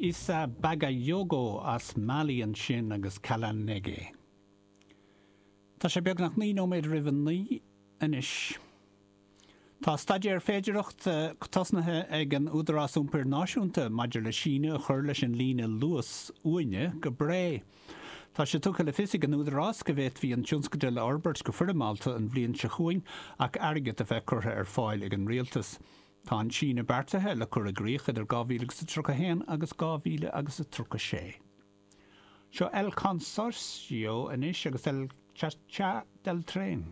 Issa Bagayogo as Mali ansin agus Kala Nege. Tá sé beagnach 9 nóiméad roimh a 9 anois. Tá staidéar féidearthachta tosnaithe ag an Údarás Iompair Náisiúnta maidir le síneadh a chur leis an líne Luas uaine go Bré. Tá sé tugtha le fios ag an Údarás go bhféadfaí an tionscadal a fhorbairt go foirmeálta an bhliain seo chugainn ach airgead a bheith curtha ar fáil ag an Rialtas. Tá an síneadh beartaithe le cur i gcrích idir 2031 agus 2036. Seo El Consorcio anois agus El Cha Cha del Tren.